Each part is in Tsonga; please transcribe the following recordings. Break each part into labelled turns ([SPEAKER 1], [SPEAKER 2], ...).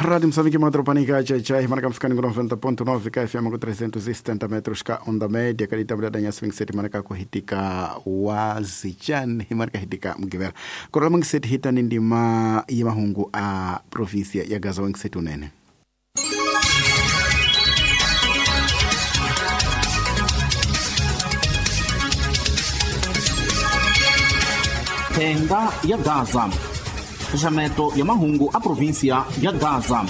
[SPEAKER 1] Rádio Moçambique, Madropanica, Tchai, marca ficando com 90.9 KFM com 370 metros ka onda média, kadita mda nya swing set marka kuhitika wazichani marka hitika mgivera. Korola mangiset hita nindima ya mahungu a província ya Gaza wangiset unene.
[SPEAKER 2] Tenda ya Gaza. Fechamento ya mahungu a província ya Gaza.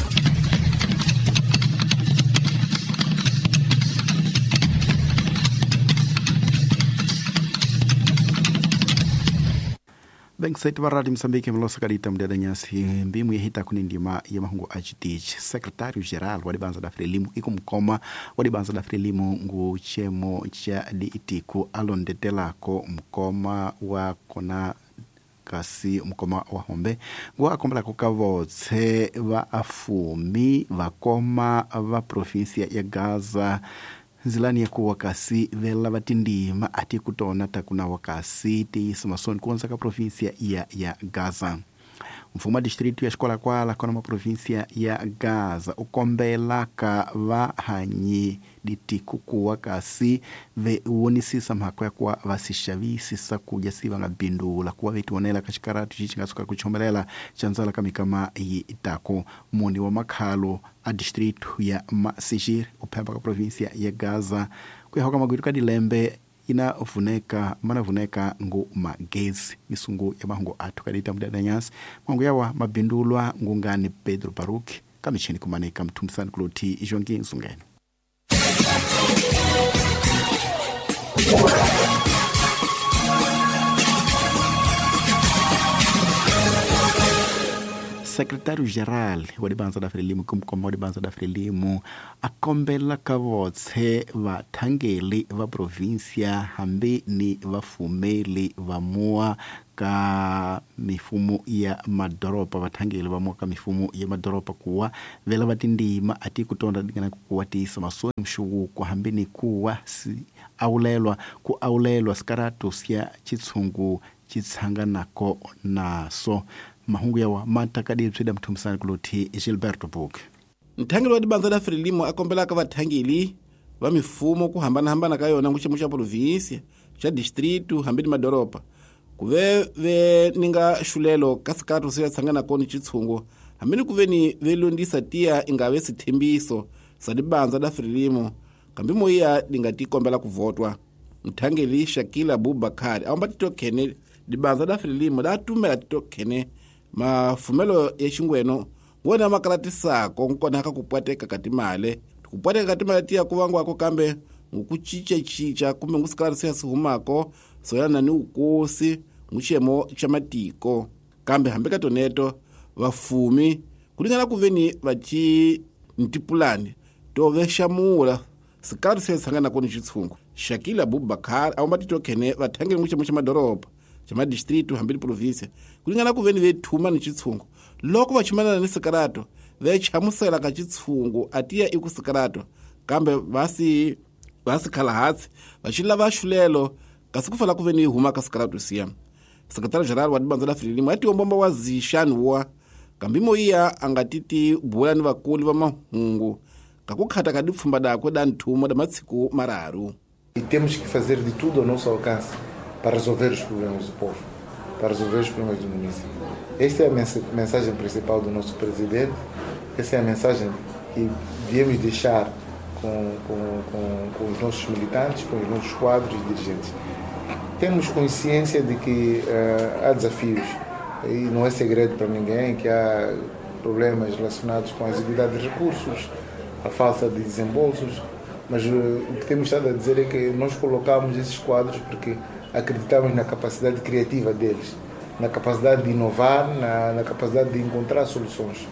[SPEAKER 1] Bem-sete wa Rádio Moçambique mlosa kadita mdada nyasi mbimu yehita kunindima ya mahungu ajitich secretário-geral wa dibanza da Frelimo ikumkoma wa dibanza da Frelimo ngu chemo cha diitiku alondetelako mkoma wa kona kasi mkoma wa hombe ngu akombelako kavotse va afumi vakoma va província ya Gaza nzilani ya kuwa kasi vela vatindima ati kutona takuna wakasi tiyisa masoni kuonza ka província ya Gaza. Mfumo wa distrito ya Xikolakwala kona ma província ya Gaza ukombela ka vahanyi ditiku kuwa kasi ve wonisisa mhaka ya kuwa vasixavisisa kudya si va nga bindula kuwa vetionela ka xikaratu xi xi nga suka ku chomelela xa ndzala ka mikama yi tako. Muni wa makhalo a distrito ya Masixir uphemba ka província ya Gaza ku ya ka magwitu ka dilembe ina vuneka mana vuneka ngu magezi misungu ya mahungu athu kadita mdada nyasi mahungu yawa mabindulwa ngungani Pedro Baruch kamichini kumaneka mthumisani kuloti ijongi nsungene. Secretário-geral wa dibanza da Frelimo kumkoma wa dibanza da Frelimo akombela ka votse vathangeli va província hambi ni vafumeli va mua ka mifumo ya madoropa vathangeli va mua ka mifumo ya madoropa kuwa vela va tindima ati kutonda dingana kuwa tiyisa masoni mxuwuko hambi ni kuwa si awulelwa ku awulelwa sikaratu sya chitshungu chitshanganako naso. Mahungu yawa matakadi tswida mthumisani kuloti Gilberto Book.
[SPEAKER 3] Nthangeli wa dibanza da Frelimo akombelaka vathangeli va mifumo ku hambanahambana ka yona nguxemo xa província xa distrito hambi ni madoropa ku ve ve ni nga xulelo ka sikaratu se ya tshanganako ni chitshungu hambi ni ku ve ni ve londisa tiya inga ve sithembiso sa dibanza da Frelimo kambi moya di nga ti kombela ku votwa. Nthangeli Shakila Abubakar a omba titokhene dibanza da Frelimo da tumela titokhene mafumelo ya xingweno ngwena makalatisako nkona ka kupwateka ka timale kupwateka ka timale tiya ku vangwako kambe ngukucicacica kumbe ngusikalati siya sihumako soyana ni ukosi nguxiyemo xa matiko kambe hambi ka toneto vafumi kulingana ku veni vaci ntipulani to vexamula sikalati siya tshanganako ni xitshungu. Shakila Abubakar a omba titokhene vathangeli nguxiyemo xa madoroba xa madistrito hambi ni província kulingana ku veni vethuma ni xitshungu loko va chumanana ni sikarato ve chamusela ka xitshungu atiya i ku sikarato kambe va si khala hansi va xi lava xulelo kasi ku fala ku veni yi huma ka sikarato siya. Secretary-general wa dibanza la Frelimo a tiwombomba wa zixani wa kambi moyiya a nga ti ti bula ni vakulu va mahungu ka ku khata ka dipfhumba dakwe da nthumo da matsiku mararu.
[SPEAKER 4] E temos que fazer de tudo ao nosso alcance para resolver os problemas do povo, para resolver os problemas do município. Esta é a mensagem principal do nosso presidente, essa é a mensagem que viemos deixar com os nossos militantes, com os nossos quadros e dirigentes. Temos consciência de que há desafios e não é segredo para ninguém que há problemas relacionados com a exiguidade de recursos, a falta de desembolsos, mas o que temos estado a dizer é que nós colocamos esses quadros porque acreditamos na capacidade criativa deles, na capacidade de inovar, na capacidade de encontrar soluções.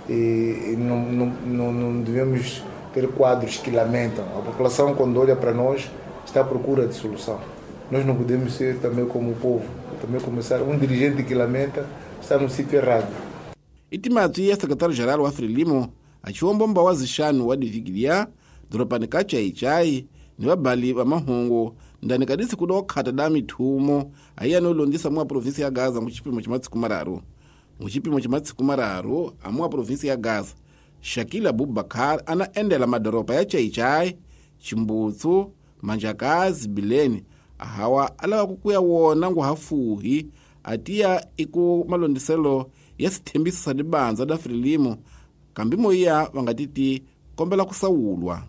[SPEAKER 4] E não devemos ter quadros que lamentam. A população, quando olha para nós, está à procura de solução. Nós não podemos ser também como o povo, também começar. Um dirigente que lamenta está no sítio errado.
[SPEAKER 3] Itimatsi ya secretário-geral wa Frelimo, achiwombomba wa zixanu wa divigilia, doropani ka Chaichai, ni vabali va mahungu ndani ka disiku do khata da mithumo ayiya no londisa mwa província ya Gaza mu xipimo xa matsiku mararu. Mu xipimo xa matsiku mararu a mwa província ya Gaza Shakila Abubakar ana endela madoropa ya Chaichai, Chimbutsu, Manjakazi, Bileni ahawa alava ku kuya wona nguhafuhi atiya iku malondiselo ya sithembiso sa dibanza da Frelimo kambi moya vangatiti kombela kusawulwa.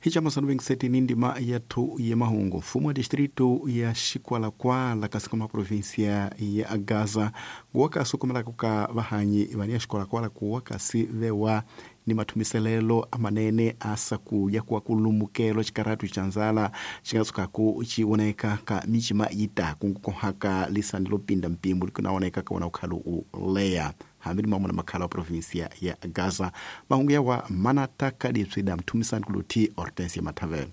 [SPEAKER 1] Hichamasanu vengiseti ni ndima yathu ya mahungu. Mfumo wa distrito ya Xikwalakwala kasi kuma província ya Gaza nguwakasi kumelaka ka vahanyi vani ya Xikwalakwala kuwa kasi vewa ni mathumiselelo amanene asakuya kuwa kulumukelo xikaratu xa nzala xi nga tshukaku xi voneka ka micima yi taku nkukohaka lisani lo pinda mpimo likunaoneka ka wona ukhalu u leya hambi ni mamuna makhala wa província ya Gaza. Mahungu yawa manataka dipswida mthumisani kuluthi Hortensia Mathavelo.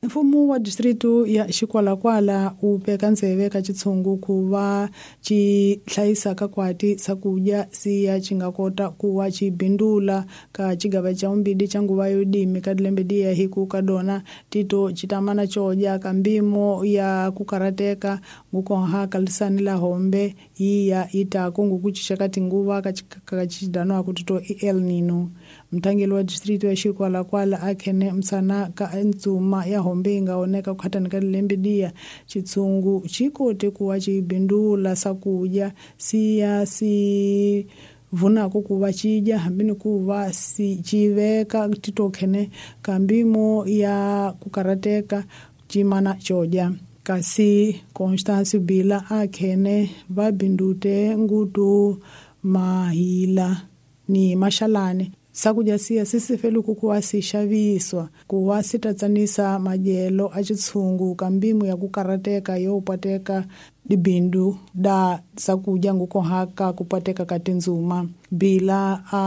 [SPEAKER 5] Mfumo wa distritu ya Xikwalakwala wu veka ndzeve ka xitshungu ku va xi hlayisa ka kwati swakudya siya xi nga kota ku va xi bindula ka xigava xa vumbirhi xa nguva yo dimi ka lembe diya hi ku ka dona tito xi tamana xo dya ka mpimo ya ku karhateka ngukoha ka lisani la hombe yi ya yi taku nguku cinca ka tinguva ka xidanwaku tito i El Nino. Mthangeli wa distritu ya Xikwalakwala a khene msana ka ntsuma ya hombe yi nga oneka ku khatani ka lembe diya xitshungu xi kote ku va xi bindula swakudya siya si vunako ku va xi dya hambi ni ku va si xi veka titokhene ka mpimo ya ku karhateka ximana xo dya. Kasi Constance Bila a khene va bindute ngutu mahila ni maxalani swakudya siya swi sifeli ku va swi xaviswa ku va swi ta tsanisa madyelo a xitshungu ka mpimo ya ku karhateka yo pateka dibindu da swakudya ngukohaka ku pateka ka tindzuma. Bila a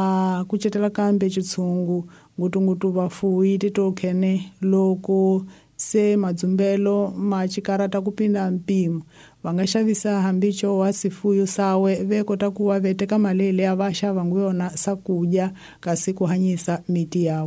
[SPEAKER 5] kucetela kambe xitshungu ngutungutu vafuwi titokhene loko se madzumbelo ma xikarata ku pinda mpimo va nga xavisa hambi xo wa sifuyo sawe ve kota ku va veteka mali leyi va xava ngu yona swakudya kasi ku hanyisa miti yawe.